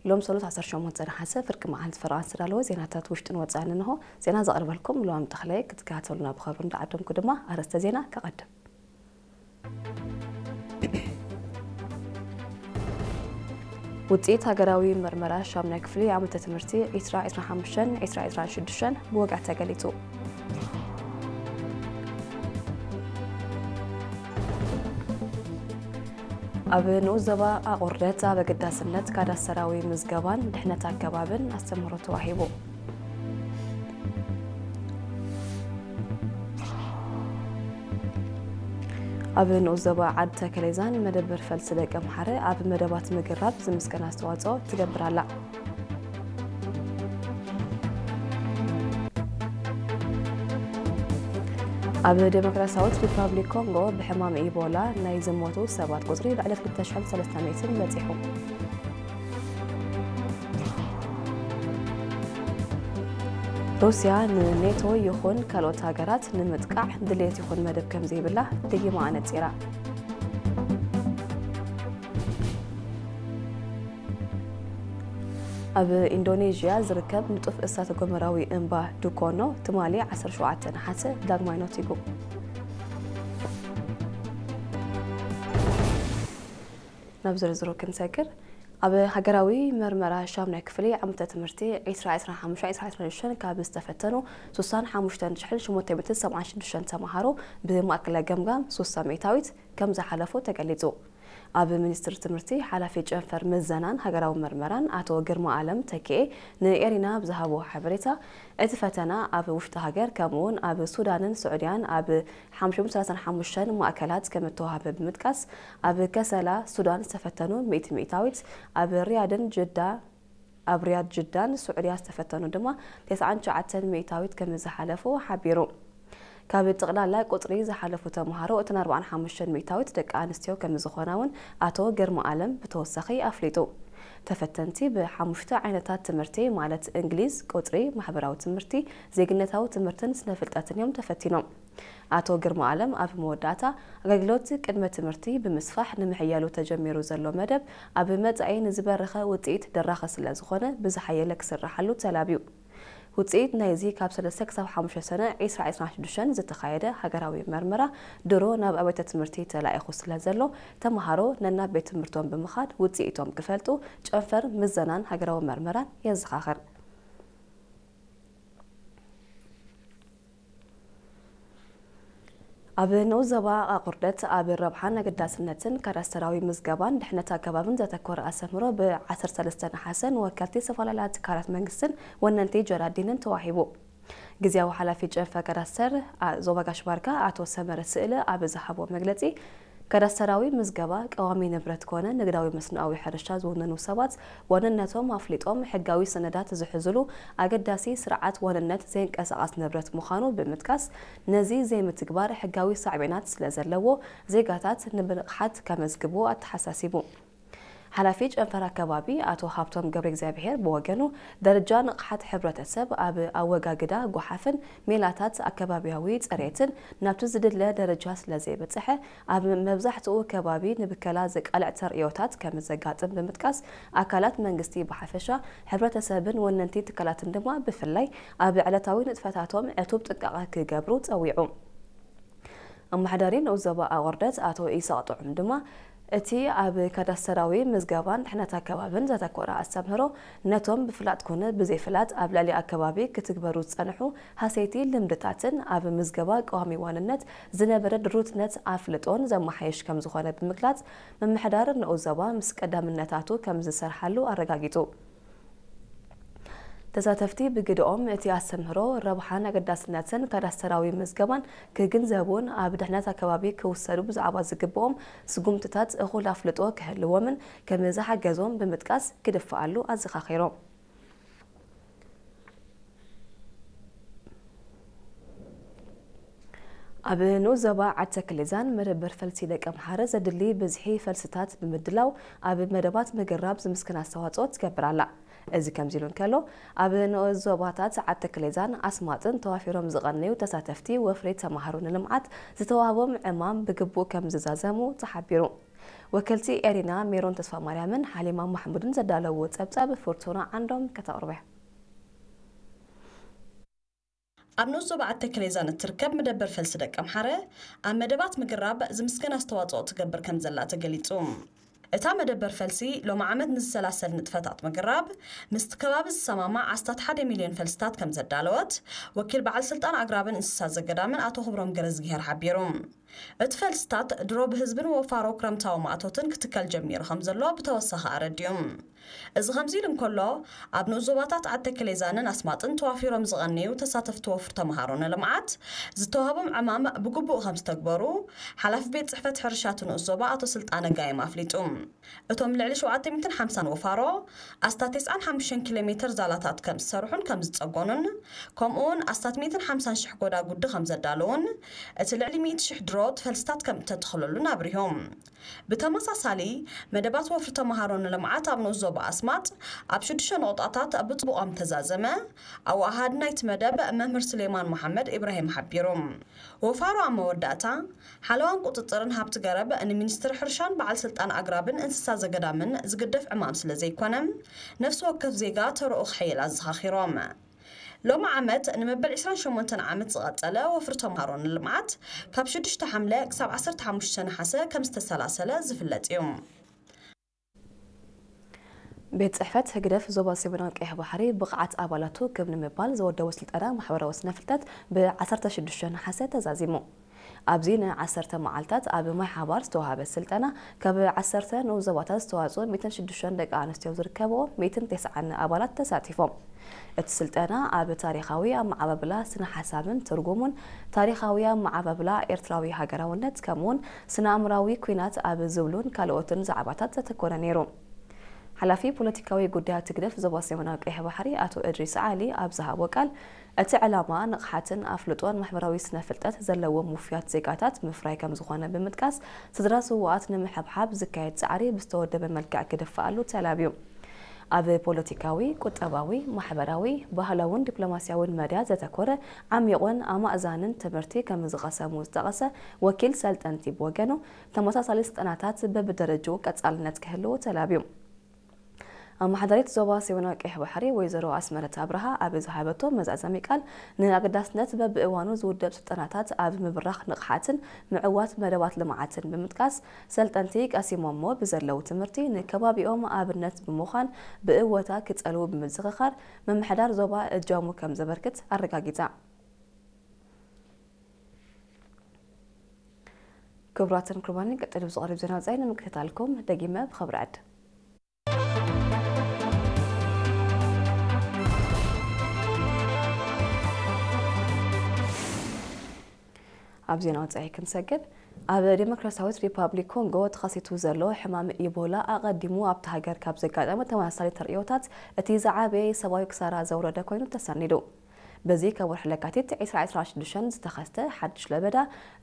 ሎም ሰሉስ ዓሰርተ ሸሞንተ ነሓሰ ፍርቂ መዓልቲ ፈረቓ ዝተዳለወ ዜናታት ውሽጥን ወጻእን እንሆ። ዜና ዘቕርበልኩም ሉዋም ተኽለየ፣ ክትከታተሉና ብኸብሪ እንዳዓደምኩ ድማ ኣርእስተ ዜና ከቐድም። ውጽኢት ሃገራዊ መርመራ ሻምናይ ክፍሊ ዓመተ ትምህርቲ ዒስራ ዒስራን ሓሙሽተን ዒስራ ዒስራን ሽዱሽተን ብወግዒ ተገሊጹ። ኣብ ንኡስ ዞባ ኣቑርደት ኣብ ኣገዳስነት ካዳስተራዊ ምዝገባን ድሕነት ኣገባብን ኣስተምህሮ ተዋሂቡ። ኣብ ንኡስ ዞባ ዓዲ ተከሌዛን መደበር ፈልሲ ደቂ ኣምሓረ ኣብ መደባት ምግራብ ዝምስገን ኣስተዋጽኦ ትገብር ኣላ። ኣብ ዴሞክራሲያዊት ሪፓብሊክ ኮንጎ ብሕማም ኢቦላ ናይ ዝሞቱ ሰባት ቁጽሪ ልዕሊ ክልተ ሽሕን ሰለስተ ሚእትን በጺሑ። ሩስያ ንኔቶ ይኹን ካልኦት ሃገራት ንምጥቃዕ ድሌት ይኹን መደብ ከም ዘይብላ ደጊማ ኣነጺራ። ኣብ ኢንዶኔዥያ ዝርከብ ንጡፍ እሳተ ጎመራዊ እምባ ዱኮኖ ትማሊ ዓሰርተ ሸውዓተ ነሓሰ ዳግማይ ነቲጉ። ናብ ዝርዝሩ ክንሰግር፣ ኣብ ሃገራዊ መርመራ ሻምናይ ክፍሊ ዓመተ ትምህርቲ ዒስራ ዒስራን ሓሙሽተን ዒስራ ዒስራን ሽዱሽተን ካብ ዝተፈተኑ ስሳን ሓሙሽተን ሽሕን ሸሞንተ ሚእትን ሰብዓን ሽዱሽተን ተምሃሮ ብማእከላይ ገምጋም ስሳ ሚእታዊት ከም ዝሓለፉ ተገሊጹ። ኣብ ሚኒስትሪ ትምህርቲ ሓላፊ ጨንፈር ምዘናን ሃገራዊ መርመራን ኣቶ ግርማ ኣለም ተኪኤ ንኤሪና ብዝሃቦ ሓበሬታ፣ እቲ ፈተና ኣብ ውሽጢ ሃገር ከምኡ'ውን ኣብ ሱዳንን ስዑድያን ኣብ ሓሙሽተ ሚእትን ሰላሳን ሓሙሽተን ማእከላት ከም እተዋህበ ብምጥቃስ፣ ኣብ ከሰላ ሱዳን ዝተፈተኑ ሚእቲ ሚእታዊት፣ ኣብ ሪያድን ጅዳ ኣብ ሪያድ ጅዳን ስዑድያ ዝተፈተኑ ድማ ተስዓን ትሽዓተን ሚእታዊት ከም ዝሓለፉ ሓቢሩ። ካብ ጥቕላላ ቁጽሪ ዝሓለፉ ተምሃሮ እተን ኣርባዓን ሓሙሽተን ሚእታዊት ደቂ ኣንስትዮ ከም ዝኾና እውን ኣቶ ግርማ ኣለም ብተወሳኺ ኣፍሊጡ። ተፈተንቲ ብሓሙሽተ ዓይነታት ትምህርቲ ማለት እንግሊዝ፣ ቁጽሪ፣ ማሕበራዊ ትምህርቲ፣ ዜግነታዊ ትምህርትን ስነ ፍልጠትን እዮም ተፈቲኖም። ኣቶ ግርማ ኣለም ኣብ መወዳእታ፣ ኣገልግሎት ቅድመ ትምህርቲ ብምስፋሕ ንምሕያሉ ተጀሚሩ ዘሎ መደብ ኣብ መጻኢ ንዝበረኸ ውጽኢት ደራኺ ስለ ዝኾነ ብዝሓየለ ክስራሓሉ ተላብዩ። ውጽኢት ናይዚ ካብ ሰለስተ ክሳብ ሓሙሽተ ሰነ ዒስራ ዒስራን ሽዱሽተን ዝተኻየደ ሃገራዊ መርመራ ድሮ ናብ ኣብያተ ትምህርቲ ተላኢኹ ስለ ዘሎ፣ ተምሃሮ ነናብ ቤት ትምህርቶም ብምኻድ ውጽኢቶም ክፈልጡ ጨንፈር ምዘናን ሃገራዊ መርመራን የዘኻኽር። ኣብ ንኡስ ዞባ ኣቑርደት ኣብ ረብሓን ኣገዳስነትን ካዳስተራዊ ምዝገባን ድሕነት ኣገባብን ዘተኮረ ኣስተምህሮ ብ ዓሰርተ ሰለስተ ነሓሰ ንወከልቲ ዝተፈላለያ ትካላት መንግስትን ወነንቲ ጀራዲንን ተዋሂቡ። ግዝያዊ ሓላፊ ጨንፈር ካዳስተር ዞባ ጋሽ ባርካ ኣቶ ሰመረ ስእለ ኣብ ዝሃቦ መግለጺ፣ ካዳስተራዊ ምዝገባ ቀዋሚ ንብረት ኮነ ንግዳዊ መስኖኣዊ ሕርሻ ዝውንኑ ሰባት ዋንነቶም ኣፍሊጦም ሕጋዊ ሰነዳት ዝሕዙሉ ኣገዳሲ ስርዓት ዋንነት ዘይንቀሳቐስ ንብረት ምዃኑ ብምጥቃስ፣ ነዚ ዘይምትግባር ሕጋዊ ሳዕቤናት ስለ ዘለዎ ዜጋታት ንብንቕሓት ከመዝግቡ ኣተሓሳሲቡ። ሓላፊ ጨንፈር ኣከባቢ ኣቶ ሃብቶም ገብረ እግዚኣብሔር ብወገኑ፣ ደረጃ ንቕሓት ሕብረተሰብ ኣብ ኣወጋግዳ ጓሓፍን ሜላታት ኣከባቢያዊ ጽሬትን ናብቲ ዝድለ ደረጃ ስለ ዘይበጽሐ፣ ኣብ መብዛሕትኡ ከባቢ ንብከላ ዘቃልዕ ተርእዮታት ከም ዘጋጥም ብምጥቃስ፣ ኣካላት መንግስቲ ብሓፈሻ፣ ሕብረተሰብን ወነንቲ ትካላትን ድማ ብፍላይ ኣብ ዕለታዊ ንጥፈታቶም ዕቱብ ጥንቃቐ ክገብሩ ጸዊዑ። ኣመሓዳሪ ንኡስ ዞባ ኣቑርደት ኣቶ ኢሳቕ ጥዑም ድማ፣ እቲ ኣብ ካዳስተራዊ ምዝገባን ድሕነት ኣከባብን ዘተኮረ ኣስተምህሮ፣ ነቶም ብፍላጥ ኮነ ብዘይፍላጥ ኣብ ልዕሊ ኣከባቢ ክትግበሩ ዝጸንሑ ሃሰይቲ ልምድታትን ኣብ ምዝገባ ቀዋሚ ዋንነት ዝነበረ ድሩትነት ኣፍልጦን ዘመሓየሽ ከም ዝኾነ ብምግላጽ፣ ምምሕዳር ንኡስ ዞባ ምስ ቀዳምነታቱ ከም ዝሰርሓሉ ኣረጋጊጹ። ተሳተፍቲ ብግደኦም፣ እቲ ኣስተምህሮ ረብሓን ኣገዳስነትን ካዳስተራዊ ምዝገባን ክግንዘቡን ኣብ ድሕነት ኣከባቢ ክውሰዱ ብዛዕባ ዝግብኦም ስጉምትታት እኹል ኣፍልጦ ክህልዎምን ከም ዝሓገዞም ብምጥቃስ ክድፍኣሉ ኣዘኻኺሮም። ኣብ ንኡስ ዞባ ዓዲ ተክሌዛን መደበር ፈልሲ ደቂ ኣምሓረ ዘድሊ ብዝሒ ፈልስታት ብምድላው ኣብ መደባት ምግራብ ዝምስገን ኣስተዋጽኦ ትገብር ኣላ። እዚ ከምዚ ኢሉ እንከሎ፣ ኣብ ንኡስ ዞባታት ዓዲ ተክሌዛን ኣስማጥን ተዋፊሮም ዝቐነዩ ተሳተፍቲ ወፍሪ ተምሃሮ ንልምዓት ዝተዋህቦም ዕማም ብግቡእ ከም ዝዛዘሙ ተሓቢሩ። ወከልቲ ኤሪና ሜሮን ተስፋማርያምን ሓሊማ ማሕሙድን ዘዳለውዎ ጸብጻብ ፍርቱና ዓንዶም ከተቕርቦ እያ። ኣብ ንኡስ ዞባ ዓዲ ተከሌዛን እትርከብ መደበር ፈልሲ ደቀምሓረ፣ ኣብ መደባት ምግራብ ዝምስገን ኣስተዋጽኦ ትገብር ከም ዘላ ተገሊጹ። እታ መደበር ፈልሲ፣ ሎሚ ዓመት ንዝሰላሰል ንጥፈታት ምግራብ፣ ምስቲ ከባቢ ዝሰማማዕ ኣስታት ሓደ ሚልዮን ፈልስታት ከም ዘዳለወት፣ ወኪል በዓል ስልጣን ኣግራብን እንስሳ ዘገዳምን ኣቶ ክብሮም ገረዝግሄር ሓቢሩ። እቲ ፈልስታት ድሮ ብህዝብን ወፋሮ ክረምታዊ ማእቶትን ክትከል ጀሚሩ ከም ዘሎ ብተወሳኺ ኣረዲኡ። እዚ ከምዚ ኢሉ እንከሎ፣ ኣብ ንኡስ ዞባታት ዓዲ ተከሌዛንን ኣስማጥን ተዋፊሮም ዝቐነዩ ተሳተፍቲ ወፍሪ ተምሃሮ ንልምዓት ዝተዋህቦም ዕማም ብግቡእ ከም ዝተግበሩ ሓላፊ ቤት ጽሕፈት ሕርሻ እቲ ንኡስ ዞባ ኣቶ ስልጣነ ጋይም ኣፍሊጡ። እቶም ልዕሊ ሸውዓተ ሚእትን ሓምሳን ወፋሮ ኣስታት ተስዓን ሓሙሽተን ኪሎ ሜትር ዛላታት ከም ዝሰርሑን ከም ዝጸገኑን፣ ከምኡውን ኣስታት ሚእትን ሓምሳን ሽሕ ጎዳጉዲ ከም ዘዳለዉን፣ እቲ ልዕሊ ሚእቲ ሽሕ ድሮ ፈልስታት ከም እተተኽለሉን ኣብሪሆም። ብተመሳሳሊ፣ መደባት ወፍሪ ተምሃሮ ንልምዓት ኣብ ንኡስ ዞባ ኣስማጥ ኣብ ሽዱሽተ ነቑጣታት ብጽቡቕ ከም ተዛዘመ፣ ኣወሃሃዲ ናይቲ መደብ መምህር ሱሌማን መሓመድ ኢብራሂም ሓቢሩ። ወፋሮ ኣብ መወዳእታ፣ ሓለዋን ቁጽጽርን ሃብቲ ገረብ ንሚኒስትሪ ሕርሻን በዓል ስልጣን ኣግራብን እንስሳ ዘገዳምን ዝግደፍ ዕማም ስለ ዘይኮነ፣ ነፍሲ ወከፍ ዜጋ ተረኡ ክሕይል ኣዘኻኺሮም። ሎሚ ዓመት ንመበል ዕስራን ሸሞንተን ዓመት ዝቐጸለ ወፍሪ ተምሃሮ ንልምዓት ካብ ሽዱሽተ ሓምለ ክሳብ ዓሰርተ ሓሙሽተ ነሓሰ ከም ዝተሰላሰለ ዝፍለጥ እዩ። ቤት ጽሕፈት ህግደፍ ዞባ ሰሜናዊ ቀይሕ ባሕሪ ብቕዓት ኣባላቱ ክብ ንምባል ዝወደቦ ስልጠና ማሕበራዊ ስነ ፍልጠት ብ ዓሰርተ ሽዱሽተ ነሓሰ ተዛዚሙ። ኣብዚ ን ዓሰርተ መዓልታት ኣብ ማይ ሓባር ዝተዋህበ ስልጠና፣ ካብ ዓሰርተ ንኡስ ዞባታት ዝተዋጽኡ ሚእትን ሽዱሽተን ደቂ ኣንስትዮ ዝርከብኦ ሚእትን ተስዓን ኣባላት ተሳቲፎም። እቲ ስልጠና ኣብ ታሪኻዊ ኣመዓባብላ ስነ ሓሳብን ትርጉሙን፣ ታሪኻዊ ኣመዓባብላ ኤርትራዊ ሃገራውነት፣ ከምኡውን ስነ ኣእምራዊ ኲናት ኣብ ዝብሉን ካልኦትን ዛዕባታት ዘተኮረ ነይሩ። ሓላፊ ፖለቲካዊ ጉዳያት ህግደፍ ዞባ ሰሜናዊ ቀይሕ ባሕሪ ኣቶ እድሪስ ዓሊ ኣብ ዝሃቦ ቃል፣ እቲ ዕላማ ንቕሓትን ኣፍልጦን ማሕበራዊ ስነ ፍልጠት ዘለዎም ውፉያት ዜጋታት ምፍራይ ከም ዝኾነ ብምጥቃስ፣ ስድራ ስዉኣት ንምሕብሓብ ዝካየድ ጻዕሪ ብዝተወደበ መልክዕ ክድፋኣሉ ተላብዩ። ኣብ ፖለቲካዊ፣ ቁጠባዊ፣ ማሕበራዊ፣ ባህላውን ዲፕሎማስያውን መድያ ዘተኮረ ዓሚቑን ኣማእዛንን ትምህርቲ ከም ዝቐሰሙ ዝጠቐሰ ወኪል ሰልጠንቲ ብወገኑ፣ ተመሳሳሊ ስልጠናታት በብደረጅኡ ቀጻልነት ክህልዎ ተላብዩ። ኣመሓዳሪት ዞባ ሰሜናዊ ቀይሕ ባሕሪ ወይዘሮ ኣስመረት ኣብርሃ ኣብ ዝሃበቶ መዛዘሚ ቃል፣ ንኣገዳስነት በብእዋኑ ዝውደብ ስልጠናታት ኣብ ምብራኽ ንቕሓትን ምዕዋት መደባት ልምዓትን ብምጥቃስ፣ ሰልጠንቲ ቀሲሞሞ ብዘለዉ ትምህርቲ ንከባቢኦም ኣብነት ብምዃን ብእወታ ክጸልዉ ብምዝኽኻር፣ ምምሕዳር ዞባ እጃሙ ከም ዘበርክት ኣረጋጊጻ። ክቡራትን ክቡራንን፣ ቀጺሉ ዝቐርብ ዜና ወጻኢ ንምክትታልኩም ደጊመ ብኽብሪ ዕድ። ኣብ ዜና ወጻኢ ክንሰግር፣ ኣብ ዴሞክራሲያዊት ሪፓብሊክ ኮንጎ ተኸሲቱ ዘሎ ሕማም ኢቦላ ኣቐዲሙ ኣብታ ሃገር ካብ ዘጋጠመ ተመሳሳሊ ተርእዮታት እቲ ዝዓበየ ሰብኣዊ ክሳራ ዘውረደ ኮይኑ ተሰኒዱ። በዚ ካብ ወርሒ ለካቲት ዕስራ ዕስራን ሽዱሽተን ዝተኸስተ ሓድሽ ለበዳ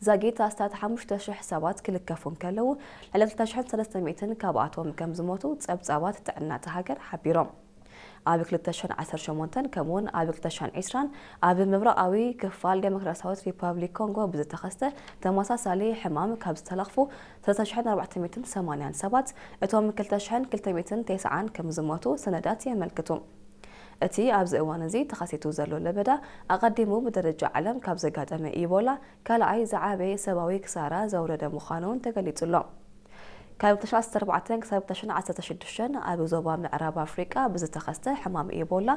ዛጊት ኣስታት ሓሙሽተ ሽሕ ሰባት ክልከፉ እንከለዉ፣ ልዕሊ ክልተ ሽሕን ሰለስተ ሚእትን ካብኣቶም ከም ዝሞቱ ጸብጻባት ጥዕና እታ ሃገር ሓቢሮም። ኣብ ክልተ ሽሕን ዓሰርተ ሸሞንተን ከምኡውን ኣብ ክልተ ሽሕን ዕስራን ኣብ ምብራቓዊ ክፋል ዴሞክራሲያዊት ሪፓብሊክ ኮንጎ ብዝተኸስተ ተመሳሳሊ ሕማም ካብ ዝተለኽፉ ሰለስተ ሽሕን ኣርባዕተ ሚእትን ሰማንያን ሰባት፣ እቶም ክልተ ሽሕን ክልተ ሚእትን ተስዓን ከም ዝሞቱ ሰነዳት የመልክቱ። እቲ ኣብዚ እዋን እዚ ተኸሲቱ ዘሎ ለበዳ፣ ኣቐዲሙ ብደረጃ ዓለም ካብ ዘጋጠመ ኢቦላ ካልኣይ ዝዓበየ ሰብኣዊ ክሳራ ዘውረደ ምዃኑ እውን ተገሊጹ ኣሎ። ካብ ክልተ ሽሕን ዓሰርተ ኣርባዕተን ክሳብ ክልተ ሽሕን ዓሰርተ ሽዱሽተን ኣብ ዞባ ምዕራብ ኣፍሪቃ ብዝተኸስተ ሕማም ኢቦላ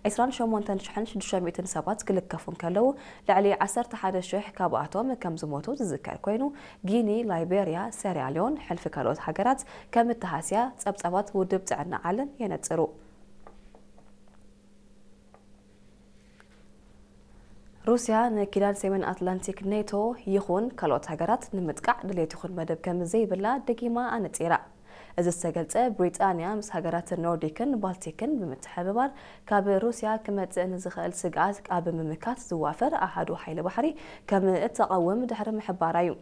ዕስራን ሸሞንተን ሽሕን ሽዱሽተ ሚእትን ሰባት ክልከፉ እንከለዉ፣ ልዕሊ ዓሰርተ ሓደ ሽሕ ካብኣቶም ከም ዝሞቱ ዝዝከር ኮይኑ፣ ጊኒ፣ ላይቤርያ፣ ሴራልዮን፣ ሕልፊ ካልኦት ሃገራት ከም እተሃስያ ጸብጻባት ውድብ ጥዕና ዓለም የነጽሩ። ሩስያ ንኪዳን ሰሜን ኣትላንቲክ ኔቶ ይኹን ካልኦት ሃገራት ንምጥቃዕ ድሌት ይኹን መደብ ከም ዘይብላ ደጊማ ኣነጺራ። እዚ ዝተገልጸ፣ ብሪጣንያ ምስ ሃገራት ኖርዲክን ባልቲክን ብምትሕብባር ካብ ሩስያ ክመጽእ ንዝኽእል ስግኣት ኣብ ምምካት ዝዋፈር ኣሃዱ ሓይሊ ባሕሪ ከም እተቐውም ድሕሪ ምሕባራ እዩ።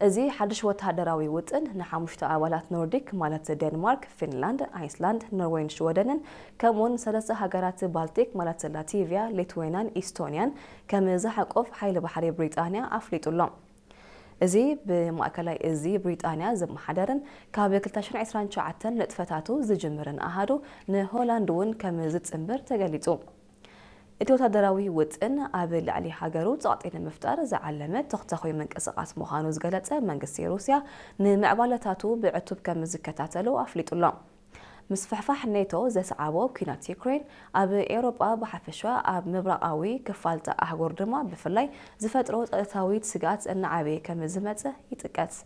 እዚ ሓድሽ ወተሃደራዊ ውጥን ንሓሙሽተ ኣባላት ኖርዲክ፣ ማለት ዴንማርክ፣ ፊንላንድ፣ ኣይስላንድ፣ ኖርዌይን ሽወደንን፣ ከምኡውን ሰለስተ ሃገራት ባልቲክ፣ ማለት ላቲቪያ፣ ሊትዌንያን ኢስቶንያን፣ ከም ዝሓቁፍ ሓይሊ ባሕሪ ብሪጣንያ ኣፍሊጡ ኣሎ። እዚ ብማእከላይ እዚ ብሪጣንያ ዝመሓደርን ካብ ክልተ ሽሕን ዕስራን ትሽዓተን ንጥፈታቱ ዝጅምርን ኣሃዱ ንሆላንድ እውን ከም ዝጽንብር ተገሊጹ። እቲ ወታደራዊ ውጥን ኣብ ልዕሊ ሃገሩ ጸቕጢ ንምፍጣር ዝዓለመ ተኽተኹይ ምንቅስቓስ ምዃኑ ዝገለጸ መንግስቲ ሩስያ፣ ንምዕባለታቱ ብዕቱብ ከም ዝከታተሎ ኣፍሊጡ ኣሎ። ምስፍሕፋሕ ኔቶ ዘስዓቦ ኲናት ዩክሬን ኣብ ኤውሮጳ ብሓፈሻ፣ ኣብ ምብራቓዊ ክፋል'ታ ኣህጉር ድማ ብፍላይ ዝፈጥሮ ጸጥታዊ ስግኣት እናዓበየ ከም ዝመጸ ይጥቀስ።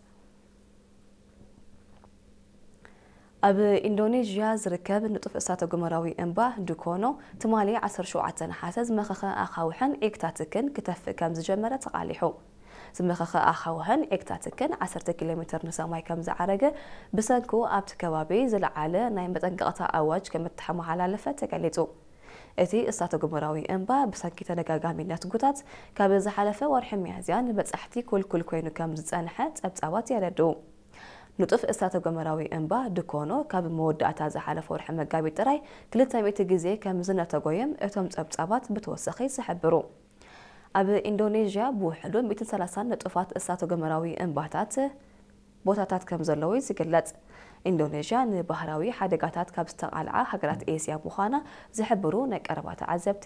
ኣብ ኢንዶኔዥያ ዝርከብ ንጡፍ እሳተ ጎመራዊ እምባ ዱኮኖ ትማሊ ዓሰርተ ሸውዓተ ነሓሰ ዝመኸኸ ኣኻውሕን ዒግታትክን ክተፍእ ከም ዝጀመረ ተቓሊሑ። ዝመኸኸ ኣኻውሕን ዒግታትክን ዓሰርተ ኪሎ ሜትር ንሰማይ ከም ዝዓረገ፣ ብሰንኩ ኣብቲ ከባቢ ዝለዓለ ናይ መጠንቀቕታ ኣዋጅ ከም እተመሓላለፈ ተገሊጹ። እቲ እሳተ ጎመራዊ እምባ ብሰንኪ ተደጋጋሚ ነትጉታት ካብ ዝሓለፈ ወርሒ ሚያዝያ ንበጻሕቲ ኩልኩል ኮይኑ ከም ዝጸንሐ ጸብጻባት የረድኡ። ንጡፍ እሳተ ጎመራዊ እምባ ዱኮኖ ካብ መወዳእታ ዝሓለፈ ወርሒ መጋቢት ጥራይ ክልተ ሚእቲ ግዜ ከም ዝነተጎ እዮም እቶም ጸብጻባት ብተወሳኺ ዝሕብሩ። ኣብ ኢንዶኔዥያ ብውሕዱ ሚእትን ሰላሳን ንጡፋት እሳተ ጎመራዊ እምባታት ቦታታት ከም ዘለዉ እዩ ዝግለጽ። ኢንዶኔዥያ ንባህራዊ ሓደጋታት ካብ ዝተቓልዓ ሃገራት ኤስያ ምዃና ዝሕብሩ ናይ ቀረባ ተዓዘብቲ፣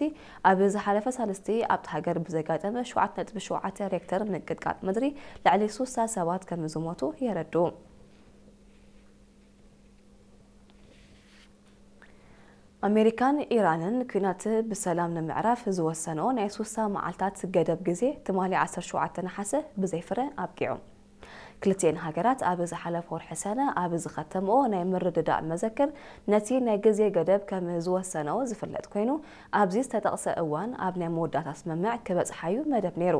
ኣብ ዝሓለፈ ሳልስቲ ኣብቲ ሃገር ብዘጋጠመ ሸውዓተ ነጥቢ ሸውዓተ ሬክተር ምንቅጥቃጥ ምድሪ ልዕሊ ሱሳ ሰባት ከም ዝሞቱ የረድኡ። ኣሜሪካን ኢራንን ኲናት ብሰላም ንምዕራፍ ዝወሰንኦ ናይ ሱሳ መዓልታት ገደብ ግዜ ትማሊ ዓሰርተ ሸውዓተ ነሓሰ ብዘይ ፍረ ኣብቂዑ። ክልቲኤን ሃገራት ኣብ ዝሓለፈ ወርሒ ሰነ ኣብ ዝኸተምኦ ናይ ምርድዳእ መዘክር፣ ነቲ ናይ ግዜ ገደብ ከም ዝወሰንኦ ዝፍለጥ ኮይኑ፣ ኣብዚ ዝተጠቕሰ እዋን ኣብ ናይ መወዳእታ ስምምዕ ክበጽሓ'ዩ መደብ ነይሩ።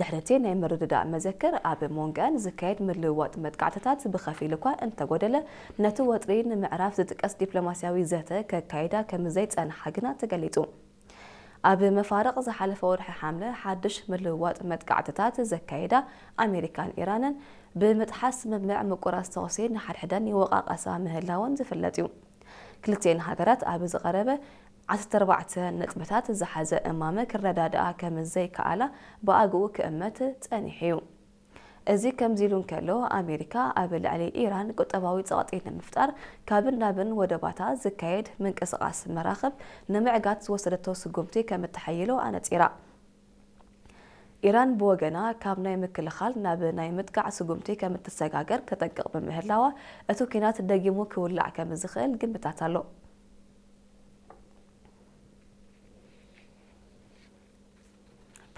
ድሕሪ እቲ ናይ ምርድዳእ መዘክር፣ ኣብ መንጎኣን ዝካየድ ምልውዋጥ መጥቃዕትታት ብኸፊል እኳ እንተጎደለ፣ ነቲ ወጥሪ ንምዕራፍ ዝጥቀስ ዲፕሎማስያዊ ዘተ ከካይዳ ከም ዘይጸንሓ ግና ተገሊጹ። ኣብ መፋርቕ ዝሓለፈ ወርሒ ሓምለ ሓድሽ ምልውዋጥ መጥቃዕትታት ዘካየዳ ኣሜሪካን ኢራንን፣ ብምጥሓስ ስምምዕ ምቁራጽ ተኹሲ ንሓድሕደን ይወቓቐሳ ምህላወን ዝፍለጥ እዩ። ክልቲኤን ሃገራት ኣብ ዝቐረበ ዓሰርተ ኣርባዕተ ነጥብታት ዝሓዘ እማመ ክረዳድኣ ከም ዘይከኣላ ብኣግኡ ክእመት ጸኒሑ እዩ። እዚ ከምዚ ኢሉ እንከሎ፣ ኣሜሪካ ኣብ ልዕሊ ኢራን ቁጠባዊ ጸቕጢ ንምፍጣር ካብን ናብን ወደባታ ዝካየድ ምንቅስቓስ መራኽብ ንምዕጋት ዝወሰደቶ ስጉምቲ ከም እተሓይሎ ኣነጺራ። ኢራን ብወገና፣ ካብ ናይ ምክልኻል ናብ ናይ ምጥቃዕ ስጉምቲ ከም እትሰጋገር ተጠንቅቕ ብምህላዋ፣ እቲ ኲናት ደጊሙ ክውላዕ ከም ዝኽእል ግምታት ኣሎ።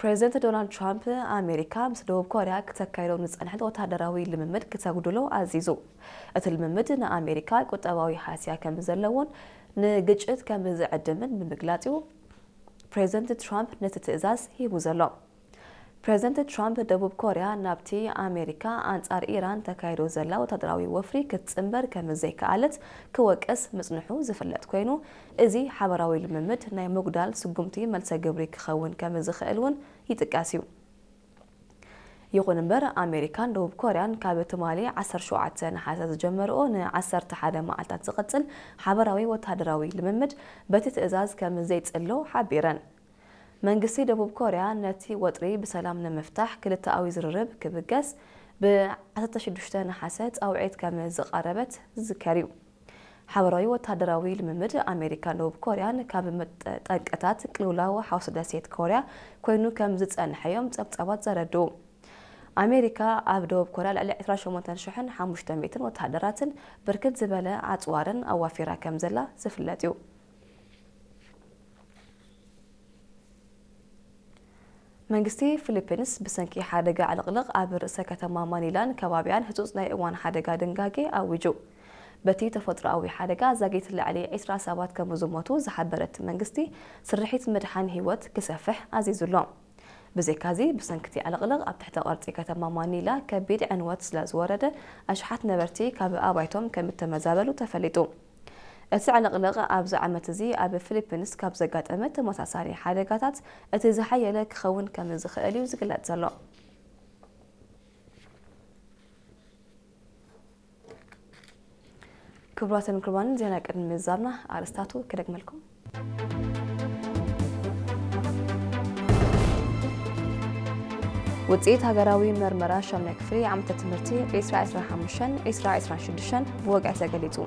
ፕሬዚደንት ዶናልድ ትራምፕ፣ ኣሜሪካ ምስ ደቡብ ኮርያ ክተካይዶ ንጸንሐት ወታደራዊ ልምምድ ክተጉድሎ ኣዚዙ። እቲ ልምምድ ንኣሜሪካ ቁጠባዊ ሃስያ ከም ዘለዎን ንግጭት ከም ዝዕድምን ብምግላጽ እዩ ፕሬዚደንት ትራምፕ ነቲ ትእዛዝ ሂቡ ዘሎ። ፕሬዚደንት ትራምፕ፣ ደቡብ ኮርያ ናብቲ ኣሜሪካ ኣንጻር ኢራን ተካይዶ ዘላ ወታደራዊ ወፍሪ ክትጽንበር ከም ዘይከኣለት ክወቅስ ምጽንሑ ዝፍለጥ ኮይኑ፣ እዚ ሓበራዊ ልምምድ ናይ ምጉዳል ስጉምቲ መልሰ ግብሪ ክኸውን ከም ዝኽእል እውን ይጥቀስ እዩ። ይኹን እምበር፣ ኣሜሪካን ደቡብ ኮርያን ካብ ትማሊ ዓሰርተ ሸውዓተ ነሓሰ ዝጀመርኦ ን ዓሰርተ ሓደ መዓልታት ዝቕጽል ሓበራዊ ወታደራዊ ልምምድ በቲ ትእዛዝ ከም ዘይጽሎ ሓቢረን። መንግስቲ ደቡብ ኮርያ ነቲ ወጥሪ ብሰላም ንምፍታሕ ክልተኣዊ ዝርርብ ክብገስ ብ ዓሰርተ ሽዱሽተ ነሓሰ ጻውዒት ከም ዝቐረበት ዝዝከር እዩ። ሓበራዊ ወታደራዊ ልምምድ ኣሜሪካን ደቡብ ኮርያን ካብ መጠ-፣ ጠንቅታት ቅልውላው ሓውሲ ደሴት ኮርያ ኮይኑ ከም ዝጸንሐ እዮም ጸብጻባት ዘረድኡ። ኣሜሪካ ኣብ ደቡብ ኮርያ ልዕሊ ዕስራን ሸሞንተን ሽሕን ሓሙሽተ ሚእትን ወተሃደራትን ብርክት ዝበለ ኣጽዋርን ኣዋፊራ ከም ዘላ ዝፍለጥ እዩ። መንግስቲ ፊሊፒንስ ብሰንኪ ሓደጋ ዕልቕልቕ ኣብ ርእሰ ከተማ ማኒላን ከባቢያን ህጹጽ ናይ እዋን ሓደጋ ድንጋጌ ኣዊጁ። በቲ ተፈጥሮኣዊ ሓደጋ ዛጊት ልዕሊ ዕስራ ሰባት ከም ዝሞቱ ዝሓበረ እቲ መንግስቲ፣ ስርሒት ምድሓን ህይወት ክሰፍሕ ኣዚዙ ኣሎ። ብዘይካዚ፣ ብሰንኪ እቲ ዕልቕልቕ ኣብ ትሕተ ቅርጺ ከተማ ማኒላ ከቢድ ዕንወት ስለ ዝወረደ፣ ኣሽሓት ነበርቲ ካብ ኣባይቶም ከም እተመዛበሉ ተፈሊጡ። እቲ ዕልቕልቕ ኣብዚ ዓመት እዚ ኣብ ፊሊፒንስ ካብ ዘጋጠመ ተመሳሳሊ ሓደጋታት እቲ ዝሓየለ ክኸውን ከም ዝኽእል እዩ ዝግለጽ ዘሎ። ክቡራትን ክቡራንን፣ ዜና ቅድሚ ምዛምና ኣርእስታቱ ክደግመልኩም። ውፅኢት ሃገራዊ መርመራ ሻምናይ ክፍሊ ዓመተ ትምህርቲ ዕስራ ዕስራን ሓሙሽተን ዕስራ ዕስራን ሽዱሽተን ብወግዒ ተገሊፁ።